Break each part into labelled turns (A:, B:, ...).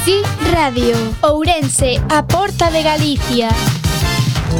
A: Sí Radio, Ourense, a porta de Galicia.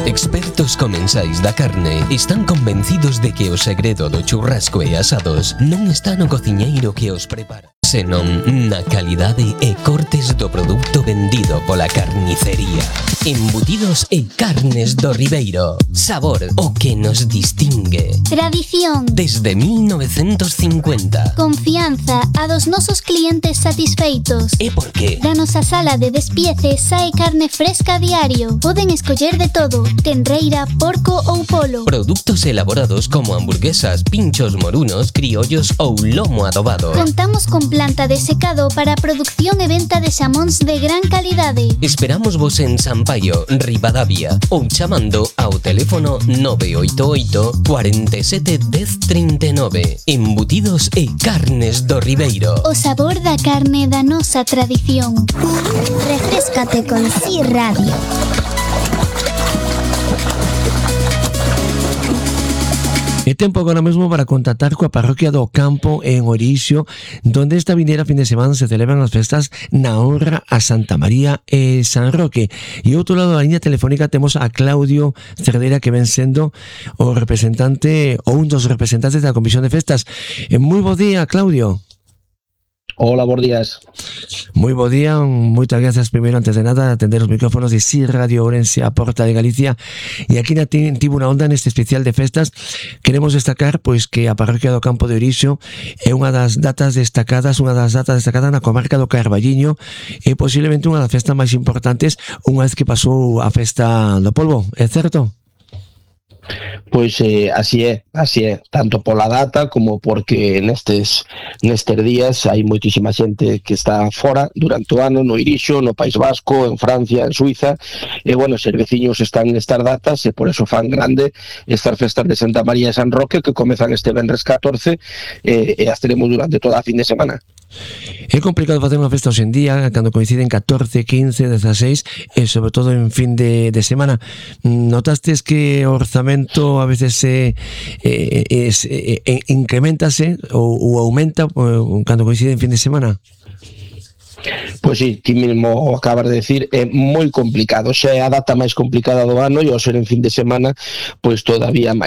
B: Expertos comensais da carne están convencidos de que o segredo do churrasco e asados non está no cociñeiro que os prepara, senón na calidade e cortes do produto vendido pola carnicería. Embutidos e carnes do Ribeiro. Sabor, o que nos distingue.
A: Tradición.
B: Desde 1950.
A: Confianza a dos nosos clientes satisfeitos.
B: E por qué?
A: Da nosa sala de despiece sae carne fresca a diario. Poden escoller de todo, tenreira, porco ou polo.
B: Produtos elaborados como hamburguesas, pinchos morunos, criollos ou lomo adobado.
A: Contamos con planta de secado para a producción e venta de xamóns de gran calidade.
B: Esperamos vos en Sampaio, Ribadavia, ou chamando ao teléfono 988 47 10 39. Embutidos e carnes do Ribeiro.
A: O sabor da carne da nosa tradición.
C: Refréscate con Sí Radio.
D: É tempo agora mesmo para contactar coa parroquia do Campo en Orixo, donde esta vindeira fin de semana se celebran as festas na honra a Santa María e San Roque. E ao outro lado da liña telefónica temos a Claudio Cerdeira, que ven sendo o representante ou un dos representantes da Comisión de Festas. Moi bo día, Claudio.
E: Hola, bons días.
D: Moi bo día, moitas grazas primeiro antes de nada de atender os micrófonos de Sí Radio Ourense, a porta de Galicia. E aquí na Tribuna Onda, neste especial de festas, queremos destacar pois que a parroquia do Campo de Orixo é unha das datas destacadas na comarca do Carballiño e posiblemente unha das festas máis importantes unha vez que pasou a festa do polvo, é certo?
E: Pois así é, tanto pola data como porque nestes días hai moitísima xente que está fora durante o ano, no Irixo, no País Vasco, en Francia, en Suiza, e bueno, os veciños están nestas datas e por eso fan grande estas festas de Santa María e San Roque que comezan este venres 14 e as teremos durante toda a fin de semana.
D: É complicado facer unha festa hoxe en día cando coinciden 14, 15, 16 e sobre todo en fin de semana. Notastes que o orzamento a veces incrementase ou aumenta cando coincide en fin de semana?
E: Pois sí, ti mesmo acabas de decir, é moi complicado, xa é a data máis complicada do ano e ao ser en fin de semana, pois todavía máis.